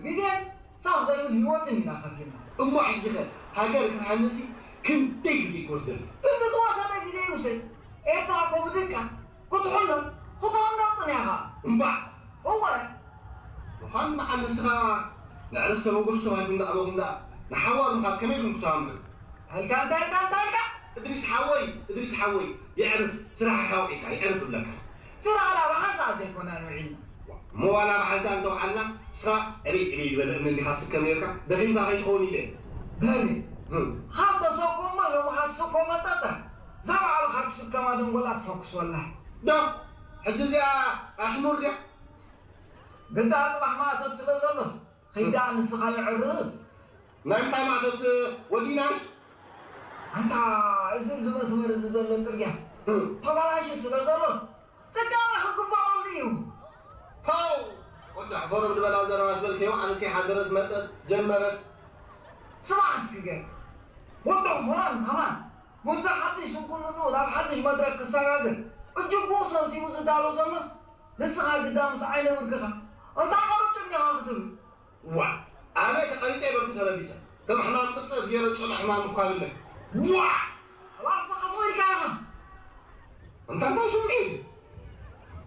ግዜን ሳብ ዘይብል ህይወትን ኢና ከፊልና። እሞ ሕጂ ኸ ሃገር ክትሃንጽሲ ክንደይ ግዜ ክወስደልኪ? ክንዲ ዝወሰደ ግዜ ይውሰድ። ኤርትራ እኮ ብድቃ ክትሕሎ ክትቕነጽን እያ ኸኣ። እምባዕ! እወ! ምዃን በዓል ንስኻ ንዕረፍቲ ተበገሱ ተባሂልኩም ዝኣበኹም ደኣ ንሓዋሩ ምኻድ ከመይ ኢልኩም ክሰማምዑ? እንታይ ኢልካ እንታይ ኢልካ እንታይ ኢልካ? እድሪስ ሓወይ እድሪስ ሓወይ የዕርፍ ስራሕ ሓውዒካ የዕርፍ እብለካ። ስራሕ ናባኻ ሰዓት ዘይኮና ንውዒልና። እሞ ዋላ ብሓንሳእ እንተውዓልና ንስኻ ዕብይ ዕብይ ዝበለ እምኒ እንዲኻ ትስከም ነርካ ደኺምካ ከይትኸውን ኢለ። በሊ። እም። ካብ ተሰኮሞ ሎምኻ ትስኮ መጠጠ እዛ ባዕልኻ ትስከማ ደንጎላ ትፈኩስ ወላ። ዶ ሕጂ እዚኣ ኣሽሙር ድያ? ግዳ ጽባሕ ማእቶት ስለ ዘሎስ ኸይዳ ንስኻ የዕርፍ። ናይ ምንታይ ማእቶት ወዲና ምሽ? ኣንታ እዚ ኣብዚ መስመር እዚ ዘሎ ጽርግያስ እም። ተባላሽዩ ስለ ዘሎስ ጽገና ክግበረሉ እዩ። ፖው! ወዲ ሕፈሮም ዝበላ ዘረባ ዝበልከዮ ማለት ከይሓደረት መጸት ጀመረት። ስማዕ እስኪ ገር ወዲ ሕፈሮም ከማን ምስዚ ሓድሽ ስንኩልንኡ ናብ ሓድሽ መድረክ ክሰጋግር እጅጉ ሰምሲቡ ዝዳሎ ዘሎስ ንስኻ ግዳ ምስ ዓይነ ብርክኻ እንታይ ዓርጭ እንዲኻ ክትብል። ዋ ኣነ ተቐሪፀ ይበልኩ ተለቢሰ ከም ሕማም ቅርፀት ገይረ ፆነ ሕማም እኳ ብለይ። ዋ ራስኻ ሰው ኢልካ ኢኻ። እንታይ እንታይ ስምዒት